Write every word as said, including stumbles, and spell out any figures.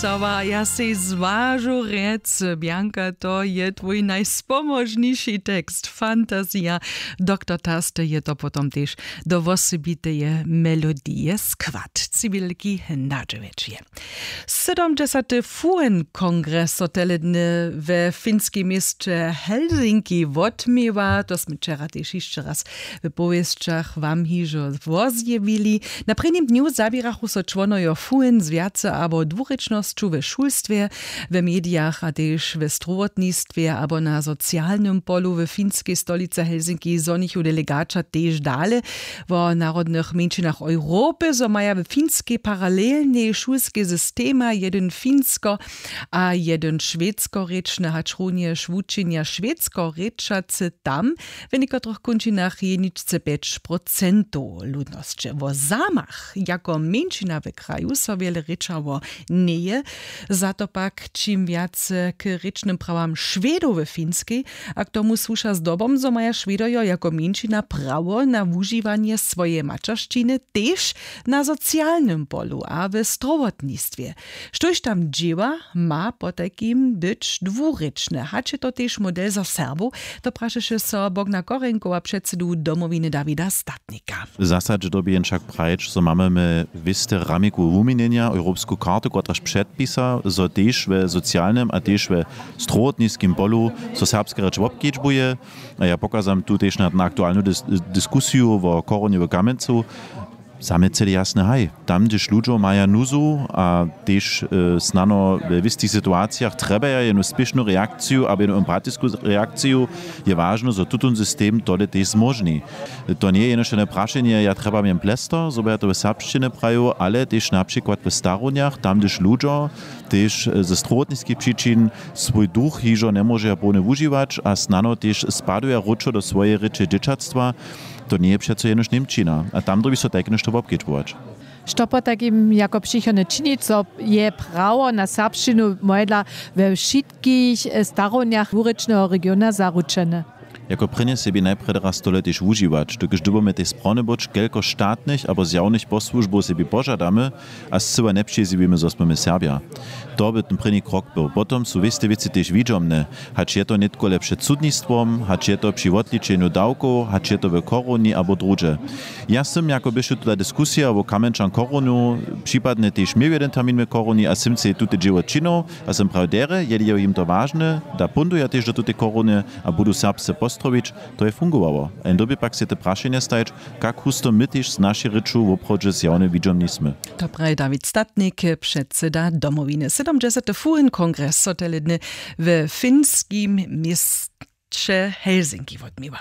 Cała ja sej zwažu rjec, Bjanka, to je twój najspomóžniši tekst, fantazija. Doktor Taste je to potom tež do wosebiteje melodije skład ciwilki nadźewjećije. Sydomdźesaty fuen kongres so teledny we finskej měsće Helsinki wotměła, to smy wčera tež hišće raz w powěsćach wam hižo wozjewili. Na prěnim dnju zaběrachu so čłonojo fuen z wjace abo dwurěčnosću we šulstwje, we medijach a tež we strowotnistwje abo na socialnym polu. We finskej stolicy Helsinki zhonichu delegaća tež dale wo narodnych mjeńšinach Europy, zo maja we finskej paralelnej šulskej systema jedyn finsko a jedyn šwedsko rěčny, hač runjež wučenja šwedsko rěčacy tam w někotrych kónčinach jeničce pjeć procentow ludnosće. Wo Samach jako mjeńšina w kraju so wjele rěčało njeje. Za to pak čim wjace k rěčnym prawam Šwedow w Finskej, a k tomu słuša zdobom, zo maja Šwedojo jako mjeńšina prawo na wužiwanje swojeje maćeršćiny tež na socialnym polu a w strowotnistwje. Štóž tam dźěła, ma potajkim być dwurěčne, hač je to tež model za Serbow, to prašeše so Bogna Korenkowa, předsedu Domowiny Dawida Statnika. W zasadźe dyrbi jen wšak prajić, zo mamy my wěste ramikowe wuměnjenja, europsku kartu, kotraž předpisa, zo tež we socialnym a tež we strowotniskim polu so serbska rěč wobkedźbuje. A ja pokazam tu tež na, na aktualnu dis-, diskusiju wo koronje w Kamjencu. Za mnje cyle jasne, haj, tam, hdyž ludźo maja nuzu a tež, e, snano we wěstich situacijach trjebaja jenu spěšnu reakciju abo jenu empatisku reakciju, je wažne, zo tutón system tole tež zmóžni. To njeje jenož jedne prašenje, ja trjebam jen plestor, zo by ja to w serbšćinje prajił, ale tež na přikład w starownjach, tam, hdyž ludźo tež, e, ze strowotniskich přičin swój duch hižo njemóžeja połnje wužiwać a snano tež spaduja wróćo do swojeje rěče dźěćatstwa. To njeje přeco jenož Němčina. A tam dyrbi so tajke něšto wobkedźbować. Što potajkim jako přichodne činić, zo je prawo na serbšćinu mojedla we wšitkich, e, starownjach dwurěčneho regiona zaručene? Jako prěnje sebi najprjedy raz tole tež wužiwać, dokelž dyrbimy tež sprawne być, kelko štatnych abo zjawnych posłužbow sebi požadamy a scyła njepřizjewimy, zo smy my Serbja. To by ten prěni krok był. Potom su wěste wěci tež widźomne, hač je to nětko le před sudnistwom, hač je to při wotličenju dawkow, hač je to w koronje abo druhdźe. Ja sym, jako běše tuta diskusija wo Kamjenčan koronju, připadnje tež měł jedyn termin w koronji a sym sej tute dźěło činił a sym prajił derje, jeli je jim to wažne, da póńdu ja tež do tutej koronje a budu serbsce postrowić. To je fungowało. A jen dyrbi pak sej te prašenje stajić, kak husto my tež z našej rěču woprawdźe zjawne widźomni smy. To praji Dawid Statnik, předseda Domowiny. Sydomdźesaty fuen kongres so tele dny we finskim měsće Helsinki wotměła.